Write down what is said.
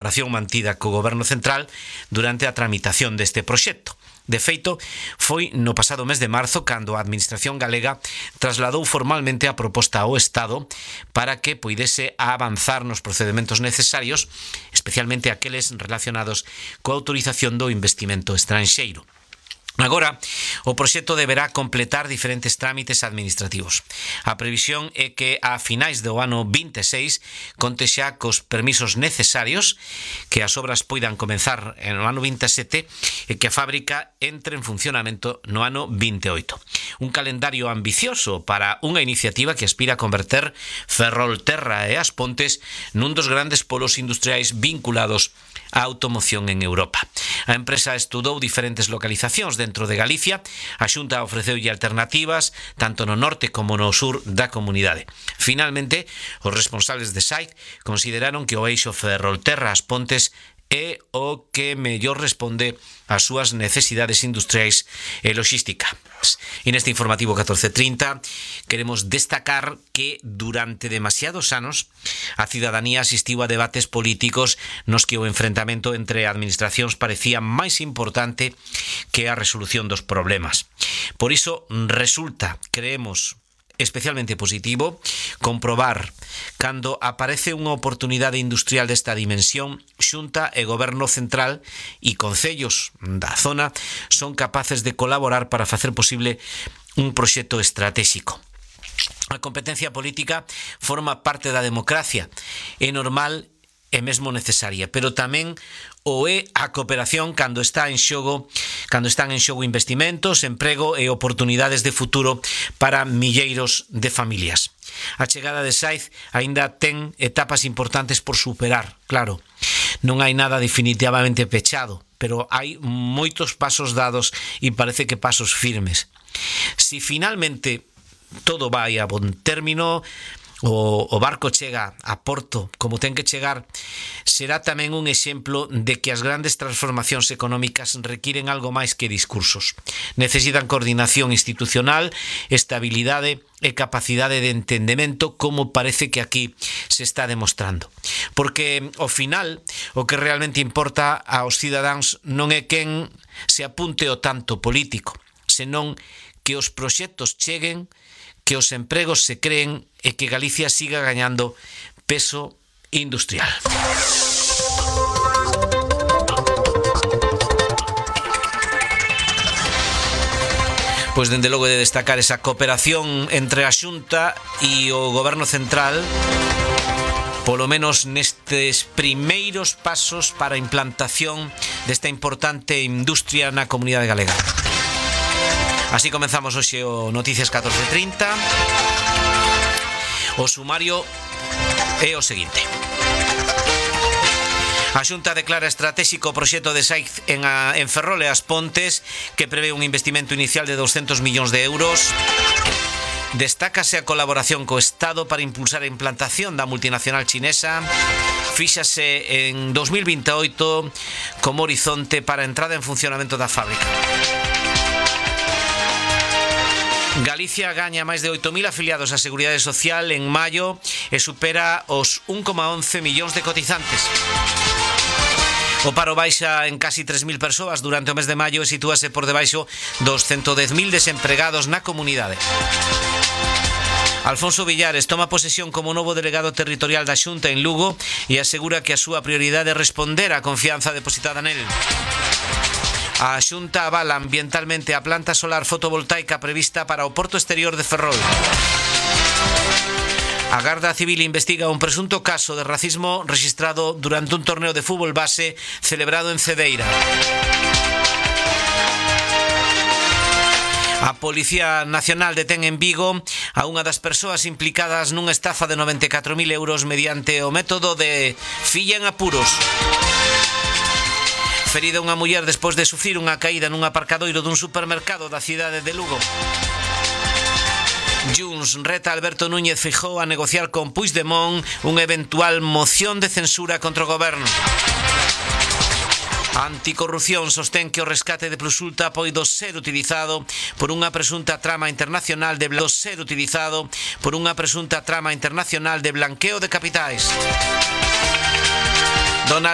colaboración mantida co Goberno Central durante a tramitación deste proxecto. De feito, foi no pasado mes de marzo cando a Administración galega trasladou formalmente a proposta ao Estado para que poidese avanzar nos procedementos necesarios, especialmente aqueles relacionados coa autorización do investimento estranxeiro. Agora, o proxecto deberá completar diferentes trámites administrativos. A previsión é que a finais do ano 26 conte xa cos permisos necesarios, que as obras poidan comenzar no ano 27 e que a fábrica entre en funcionamento no ano 28. Un calendario ambicioso para unha iniciativa que aspira a converter Ferrolterra e As Pontes nun dos grandes polos industriais vinculados á automoción en Europa. A empresa estudou diferentes localizacións dentro de Galicia, a Xunta ofreceulle alternativas tanto no norte como no sur da comunidade. Finalmente, os responsables de SAIC consideraron que o eixo Ferrolterra-As Pontes é o que mellor responde ás súas necesidades industriais e logísticas. E neste informativo 14:30 queremos destacar que durante demasiados anos a cidadanía asistiu a debates políticos nos que o enfrentamento entre administracións parecía máis importante que a resolución dos problemas. Por iso resulta, creemos, especialmente positivo comprobar cando aparece unha oportunidade industrial desta dimensión, Xunta e Goberno Central e concellos da zona son capaces de colaborar para facer posible un proxecto estratégico. A competencia política forma parte da democracia, é normal e mesmo necesaria, pero tamén o é a cooperación cando están en xogo investimentos, emprego e oportunidades de futuro para milleiros de familias. A chegada de SAIC aínda ten etapas importantes por superar, claro. Non hai nada definitivamente pechado, pero hai moitos pasos dados e parece que pasos firmes. Si finalmente todo vai a bon término, o barco chega a porto como ten que chegar, será tamén un exemplo de que as grandes transformacións económicas requiren algo máis que discursos. Necesitan coordinación institucional, estabilidade e capacidade de entendemento, como parece que aquí se está demostrando. Porque, ao final, o que realmente importa aos cidadáns non é quen se apunte o tanto político, senón que os proxectos cheguen, que os empregos se creen e que Galicia siga gañando peso industrial. Pois dende logo de destacar esa cooperación entre a Xunta e o Goberno Central, polo menos nestes primeiros pasos para a implantación desta importante industria na comunidade galega. Así comenzamos hoxe o Noticias 14:30. O sumario é o seguinte. A Xunta declara estratégico o proxecto de SAIC en Ferrol e As Pontes, que prevé un investimento inicial de 200 millóns de euros. Destácase a colaboración co Estado para impulsar a implantación da multinacional chinesa. Fíxase en 2028 como horizonte para a entrada en funcionamento da fábrica. Galicia gaña máis de 8.000 afiliados á Seguridade Social en maio e supera os 1,11 millóns de cotizantes. O paro baixa en casi 3.000 persoas durante o mes de maio e sitúase por debaixo dos 110.000 desempregados na comunidade. Alfonso Villares toma posesión como novo delegado territorial da Xunta en Lugo e asegura que a súa prioridade é responder á confianza depositada nel. A Xunta avala ambientalmente a planta solar fotovoltaica prevista para o porto exterior de Ferrol. A Garda Civil investiga un presunto caso de racismo registrado durante un torneo de fútbol base celebrado en Cedeira. A Policía Nacional detén en Vigo a unha das persoas implicadas nunha estafa de 94.000 euros mediante o método de filla en apuros. Ferida unha muller despois de sufrir unha caída nun aparcadoiro dun supermercado da cidade de Lugo. Junts reta Alberto Núñez Feijóo a negociar con Puigdemont unha eventual moción de censura contra o goberno. Anticorrupción sostén que o rescate de Plusulta poido ser utilizado por unha presunta trama internacional de blanqueo de capitais.